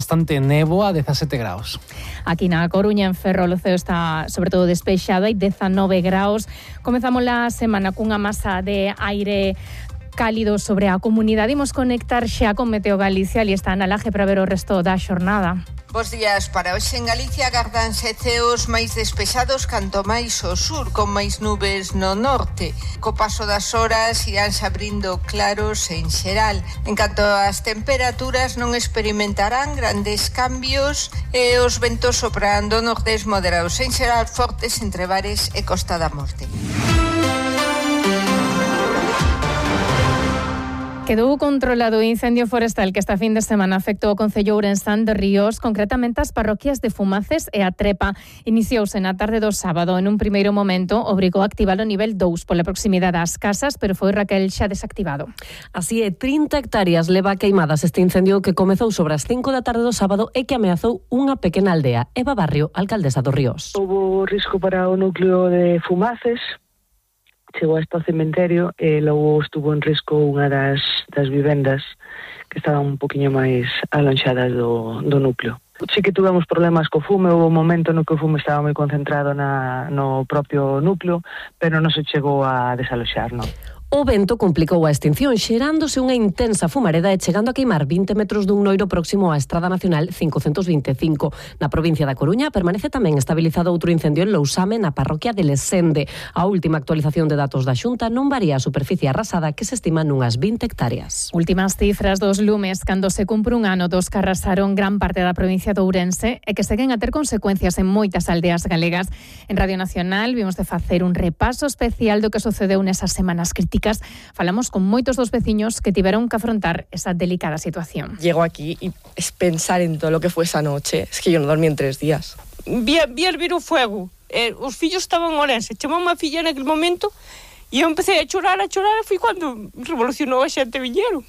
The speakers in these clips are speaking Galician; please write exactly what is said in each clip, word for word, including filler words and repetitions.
Bastante néboa, dezasete graus. Aquí na Coruña, en Ferrol, o ceo está sobre todo despexado, hai dezanove graus. Comezamos a semana cunha masa de aire cálido sobre a comunidade. Imos conectar xa con Meteo Galicia, ali está Ana Laje para ver o resto da xornada. Bos días. Para hoxe en Galicia agardanse ceos máis despexados canto máis ao sur, con máis nubes no norte. Co paso das horas iránse abrindo claros en xeral. En canto ás temperaturas non experimentarán grandes cambios e os ventos soprando nordés moderados en xeral fortes entre Bares e Costa da Morte. Quedou controlado o incendio forestal que esta fin de semana afectou o concello ourensán de Ríos, concretamente as parroquias de Fumaces e a Trepa. Iniciouse na tarde do sábado. En un primeiro momento obrigou a activar o nivel dous pola proximidade ás casas, pero foi Raquel xa desactivado. Así é, trinta hectáreas leva queimadas este incendio que comezou sobre as cinco da tarde do sábado e que ameazou unha pequena aldea. Eva Barrio, alcaldesa dos Ríos. Houbo risco para o núcleo de Fumaces. Chegou hasta o cementerio e logo estuvo en risco unha das, das vivendas que estaban un poquinho máis alonxadas do, do núcleo. Sí que tuvemos problemas co fume, houve un momento no que o fume estaba moi concentrado na, no propio núcleo, pero non se chegou a desaloxar, non. O vento complicou a extinción, xerándose unha intensa fumareda e chegando a queimar vinte metros dun noiro próximo á Estrada Nacional cincocentos vinte e cinco. Na provincia da Coruña permanece tamén estabilizado outro incendio en Lousame, na parroquia de Lesende. A última actualización de datos da Xunta non varía a superficie arrasada, que se estima nunhas vinte hectáreas. Últimas cifras dos lumes cando se cumpre un ano dos que arrasaron gran parte da provincia de Ourense e que seguen a ter consecuencias en moitas aldeas galegas. En Radio Nacional vimos de facer un repaso especial do que sucedeu nesas semanas críticas. Falamos con moitos dos veciños que tiveron que afrontar esa delicada situación. Llego aquí y es pensar en todo lo que fue esa noche. Es que yo no dormí en tres días. Vi, vi hervir o fuego. Eh, os fillos estaban en Orense. Chamou unha filla en aquel momento e eu empecé a chorar, a chorar. E foi cando revolucionou a xente viñeron.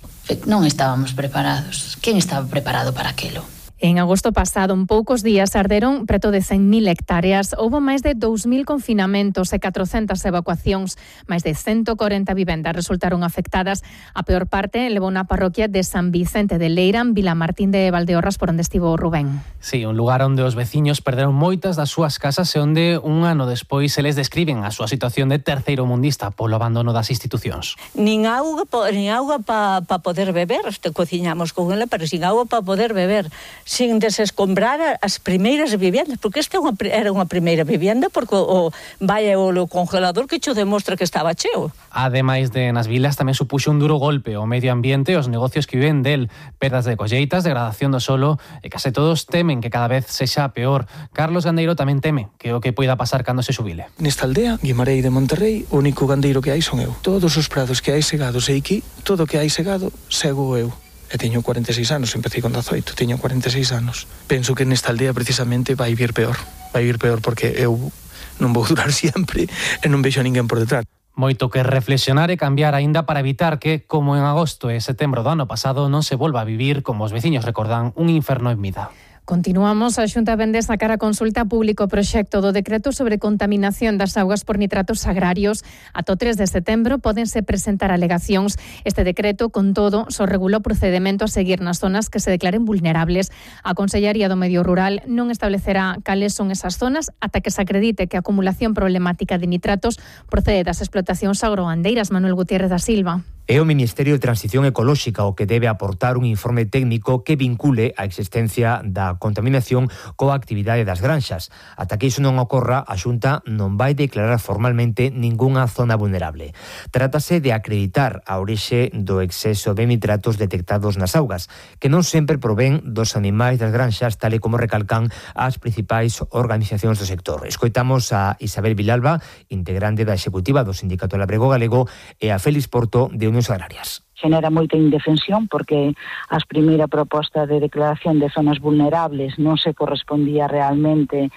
Non estábamos preparados. Quen estaba preparado para aquilo? En agosto pasado, en poucos días, arderon preto de cen mil hectáreas. Houbo máis de dous mil confinamentos e catrocentas evacuacións. Máis de ciento corenta vivendas resultaron afectadas. A peor parte levou na parroquia de San Vicente de Leira, en Vilamartín de Valdeorras, por onde estivo Rubén. Sí, un lugar onde os veciños perderon moitas das súas casas e onde un ano despois se les describen a súa situación de terceiro mundista polo abandono das institucións. Nin auga, nin auga para pa poder beber. Te cociñamos con ela, pero sin auga para poder beber. Sin desescombrar as primeiras viviendas, porque esta era unha primeira vivenda, porque o, vai o congelador que cho demostra que estaba cheo. Ademais de nas vilas tamén supuxo un duro golpe ao medio ambiente e os negocios que viven del, perdas de colleitas, degradación do solo, e case todos temen que cada vez sexa peor. Carlos Gandeiro tamén teme que o que poida pasar cando se xubile. Nesta aldea, Guimarei de Monterrey, o único gandeiro que hai son eu. Todos os prados que hai segados e aquí, todo o que hai segado, sego eu. E teño cuarenta e seis anos, empecé con dezoito, teño cuarenta e seis anos. Penso que nesta aldea precisamente vai vir peor. Vai vir peor porque eu non vou durar sempre e non vexo a ninguén por detrás. Moito que reflexionar e cambiar aínda para evitar que, como en agosto e setembro do ano pasado, non se volva a vivir, como os veciños recordan, un inferno en vida. Continuamos. A Xunta vende sacar a consulta público o proxecto do decreto sobre contaminación das augas por nitratos agrarios. Ata o tres de setembro pódense presentar alegacións. Este decreto, con todo, só regula o procedemento a seguir nas zonas que se declaren vulnerables. A Consellería do Medio Rural non establecerá cales son esas zonas ata que se acredite que a acumulación problemática de nitratos procede das explotacións agroandeiras. Manuel Gutiérrez da Silva. É o Ministerio de Transición Ecolóxica o que debe aportar un informe técnico que vincule a existencia da contaminación coa actividade das granxas. Ata que iso non ocorra, a Xunta non vai declarar formalmente ningunha zona vulnerable. Trátase de acreditar a orixe do exceso de nitratos detectados nas augas, que non sempre provén dos animais das granxas, tal e como recalcan as principais organizacións do sector. Escoitamos a Isabel Vilalba, integrante da executiva do Sindicato Labrego Galego, e a Félix Porto, de Unións Agrarias. Genera moita indefensión porque a primeira proposta de declaración de zonas vulnerables non se correspondía realmente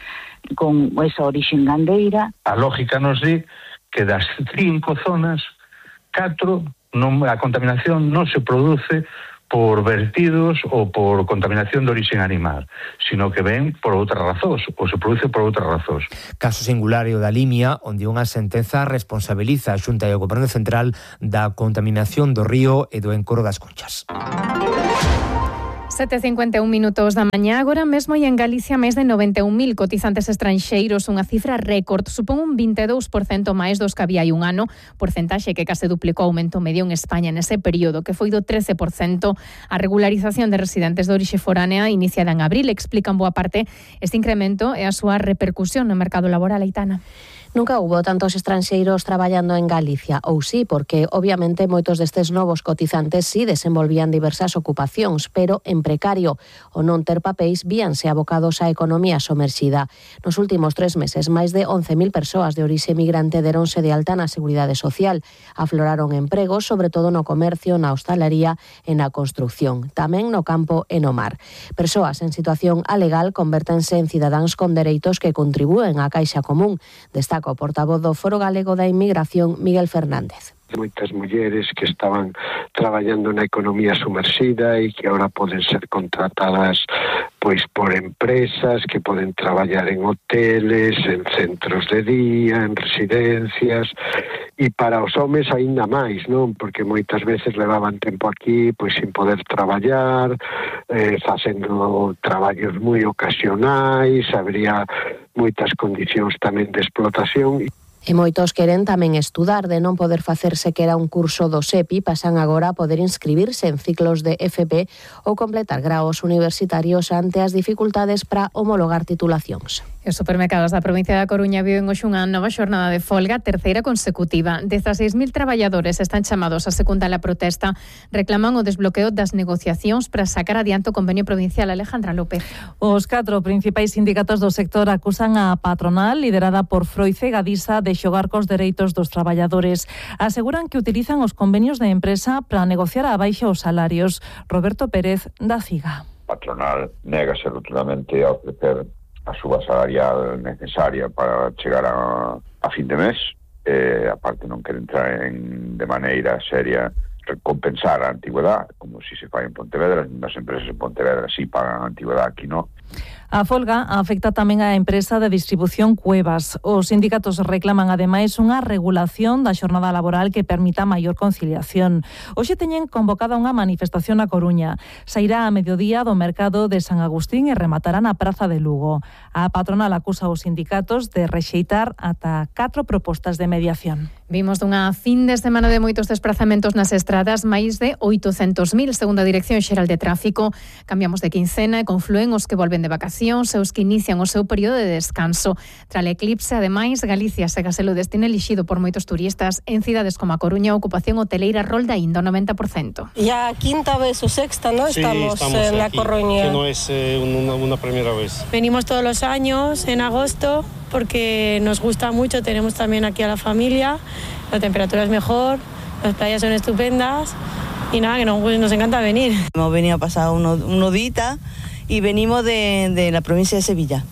con esa orixe gandeira. A lógica nos di que das cinco zonas, catro, non, a contaminación non se produce por vertidos ou por contaminación de orixe animal, sino que ven por outras razóns, ou se produce por outras razóns. Caso singular o da Limia, onde unha sentenza responsabiliza a Xunta e o Goberno Central da contaminación do río e do encoro das Conchas. sete e cincuenta e un minutos da mañá. Agora mesmo hai en Galicia máis de noventa e un mil cotizantes estranxeiros, unha cifra récord. Supón un vinte e dous por cento máis dos que había hai un ano, porcentaxe que case duplicou o aumento medio en España nese período, que foi do trece por cento. A regularización de residentes de orixe foránea iniciada en abril explica en boa parte este incremento e a súa repercusión no mercado laboral, Aitana. Nunca hubo tantos estranxeiros traballando en Galicia, ou sí, porque obviamente moitos destes novos cotizantes sí desenvolvían diversas ocupacións, pero en precario. O non ter papéis víanse abocados á economía somerxida. Nos últimos tres meses, máis de once mil persoas de orixe migrante deronse de alta na Seguridade Social. Afloraron empregos, sobre todo no comercio, na hostalería e na construcción, tamén no campo e no mar. Persoas en situación alegal convértense en cidadáns con dereitos que contribúen á caixa común. Destaca o portavoz do Foro Galego da Inmigración, Miguel Fernández. Moitas mulleres que estaban traballando na economía sumerxida e que ahora poden ser contratadas pois por empresas que poden traballar en hoteles, en centros de día, en residencias, e para os homes aínda máis, non? Porque moitas veces levaban tempo aquí pois sin poder traballar, eh, facendo traballos moi ocasionais, habría moitas condicións tamén de explotación. E moitos queren tamén estudar. De non poder facerse que era un curso do SEPI, pasan agora a poder inscribirse en ciclos de F P ou completar graos universitarios ante as dificultades para homologar titulacións. E os supermercados da provincia da Coruña viven hoxe unha nova xornada de folga, terceira consecutiva. dezaseis mil traballadores están chamados a secundar a protesta, reclaman o desbloqueo das negociacións para sacar adiante o convenio provincial. Alejandra López. Os catro principais sindicatos do sector acusan a patronal, liderada por Froice Gadisa, de xogar cos dereitos dos traballadores. Aseguran que utilizan os convenios de empresa para negociar a baixa os salarios. Roberto Pérez, da CIGA. A patronal négase rotundamente a ofrecer a suba salarial necesaria para chegar a, a fin de mes. Eh, aparte non quere entrar en, de maneira seria recompensar a antigüedade, como si se fai en Pontevedra. As empresas en Pontevedra si pagan a antigüedade, aquí non. A folga afecta tamén á empresa de distribución Cuevas. Os sindicatos reclaman ademais unha regulación da xornada laboral que permita maior conciliación. Hoxe teñen convocada unha manifestación na Coruña. Sairá a mediodía do mercado de San Agustín e rematará na Praza de Lugo. A patronal acusa os sindicatos de rexeitar ata catro propostas de mediación. Vimos dunha fin de semana de moitos desplazamentos nas estradas, máis de oitocentos mil, segundo a Dirección Xeral de Tráfico. Cambiamos de quincena e confluen os que volven de vacacións e os que inician o seu período de descanso. Tras o eclipse, ademais, Galicia segue a ser o destino elixido por moitos turistas. En cidades como a Coruña, a ocupación hoteleira rolda ainda o noventa por cento. Ya quinta vez o sexta, ¿no? Sí, estamos, estamos en la aquí, Coruña. que no es eh, una, una primera vez. Venimos todos los años en agosto porque nos gusta mucho, tenemos también aquí a la familia, la temperatura es mejor, las playas son estupendas y nada, que nos, nos encanta venir. Hemos venido a pasar uno, uno dita y venimos de, de la provincia de Sevilla.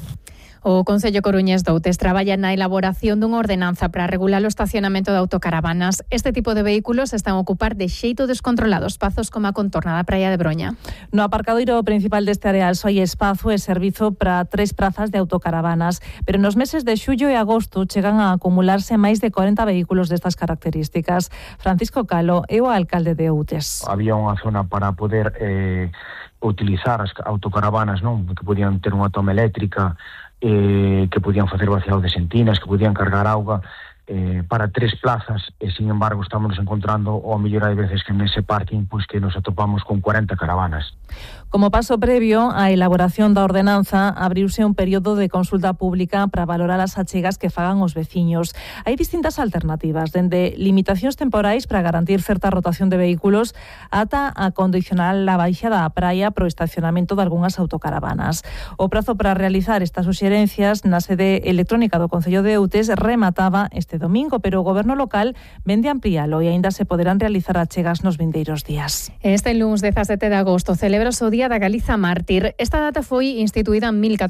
O Concello Coruñés de Outes traballa na elaboración dunha ordenanza para regular o estacionamento de autocaravanas. Este tipo de vehículos están a ocupar de xeito descontrolado espazos como a contorna da praia de Broña. No aparcadoiro principal deste areal só hai espazo e servizo para tres prazas de autocaravanas, pero nos meses de xullo e agosto chegan a acumularse máis de corenta vehículos destas características. Francisco Calo é o alcalde de Outes. Había unha zona para poder eh, utilizar as autocaravanas, non, que podían ter unha toma eléctrica, Eh, que podían facer vaciado de sentinas, que podían cargar auga eh, para tres plazas, e sin embargo estamos encontrando, ou a mellor hai veces que nese parking pois que nos atopamos con cuarenta caravanas. Como paso previo á elaboración da ordenanza, abriuse un período de consulta pública para valorar as achegas que fagan os veciños. Hai distintas alternativas, dende limitacións temporais para garantir certa rotación de vehículos ata a condicionar a baixa da praia pro estacionamento de algunhas autocaravanas. O prazo para realizar estas suxerencias na sede electrónica do Concello de Outes remataba este domingo, pero o Goberno local vende amplialo e aínda se poderán realizar achegas nos vindeiros días. Este lunes dezasete de agosto celebra o Día da Galiza Mártir. Esta data foi instituída en mil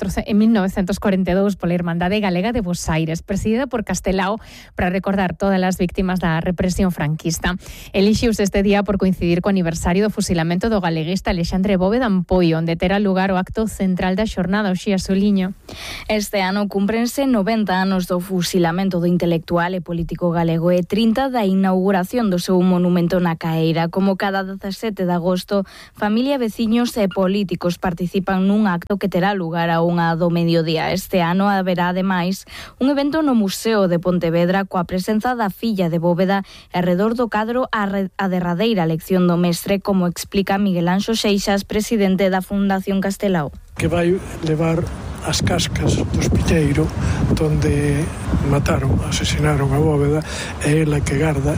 novecentos corenta e dous pola Irmandade Galega de Bos Aires, presidida por Castelao, para recordar todas as víctimas da represión franquista. Elixiuse este día por coincidir co aniversario do fusilamento do galeguista Alexandre Bóveda Ampoio, onde terá lugar o acto central da xornada, o Xía Soliño. Este ano cúmprense noventa anos do fusilamento do intelectual intelectual e político galego, e trinta da inauguración do seu monumento na Caeira. Como cada dezasete de agosto, familia, veciños e políticos participan nun acto que terá lugar a unha do mediodía. Este ano haberá, ademais, un evento no Museo de Pontevedra coa presenza da filla de Bóveda e arredor do cadro a, re, a derradeira lección do mestre, como explica Miguel Anxo Seixas, presidente da Fundación Castelao. Que vai levar as cascas do Espiteiro donde mataron, asesinaron a Bóveda, e ela que garda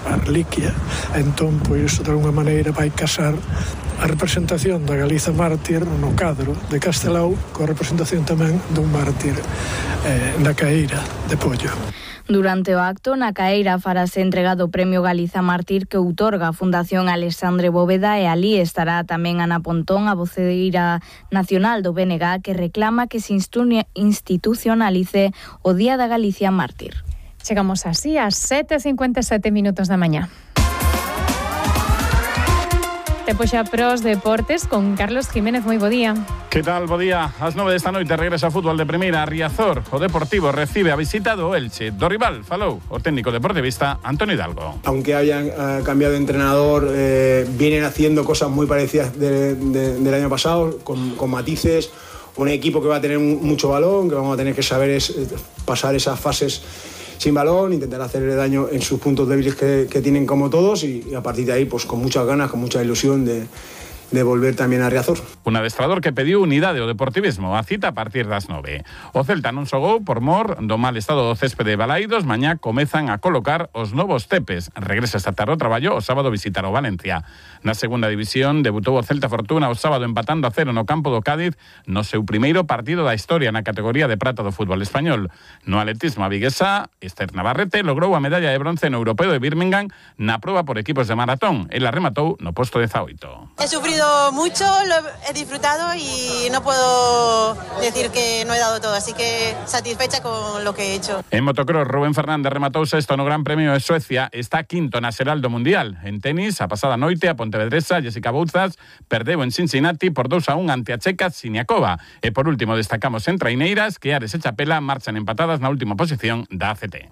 a reliquia. Entón, pois, de alguna maneira vai casar a representación da Galiza mártir no cadro de Castelao coa representación tamén dun mártir eh, na Caeira de Pollo. Durante o acto, na Caeira farase entregado o Premio Galiza Mártir que outorga a Fundación Alexandre Bóveda, e ali estará tamén Ana Pontón, a voceira nacional do B N G, que reclama que se institucionalice o Día da Galicia Mártir. Chegamos así ás sete e cincuenta e sete minutos da mañá. Tempo xa pros deportes con Carlos Jiménez. Moi bo día. Que tal? Bo día. Ás nove desta noite regresa a fútbol de primeira a Riazor. O Deportivo recibe a visita do Elche. Do rival falou o técnico deportivista Antonio Hidalgo. Aunque hayan uh, cambiado de entrenador, eh, vienen haciendo cosas muy parecidas de, de, del año pasado, con, con matices. Un equipo que va a tener mucho balón, que vamos a tener que saber es, pasar esas fases sin balón, intentar hacerle daño en sus puntos débiles que, que tienen como todos, y, y a partir de ahí pues con muchas ganas, con mucha ilusión de, de volver tamén a Riazor. Un adestrador que pediu unidade ao deportivismo, a cita a partir das nove. O Celta non xogou por mor do mal estado do céspede de Balaídos. Mañá comezan a colocar os novos tepes. Regresa esta tarde ao traballo, o sábado visitar o Valencia. Na segunda división debutou o Celta Fortuna o sábado empatando a cero no campo do Cádiz no seu primeiro partido da historia na categoría de prata do fútbol español. No atletismo a viguesa, Esther Navarrete logrou a medalla de bronce no Europeo de Birmingham na proba por equipos de maratón. Ela rematou no posto dezaoito. He sufrido mucho, lo he disfrutado y no puedo decir que no he dado todo, así que satisfecha con lo que he hecho. En motocross, Rubén Fernández rematou sexto no Gran Premio de Suecia, está quinto na xeral do Mundial. En tenis, a pasada noite, a pontevedresa Jessica Bouzas perdeu en Cincinnati por dous a un ante a checa Siniakova. E por último destacamos en traineiras que Ares e Chapela marchan empatadas na última posición da A C T.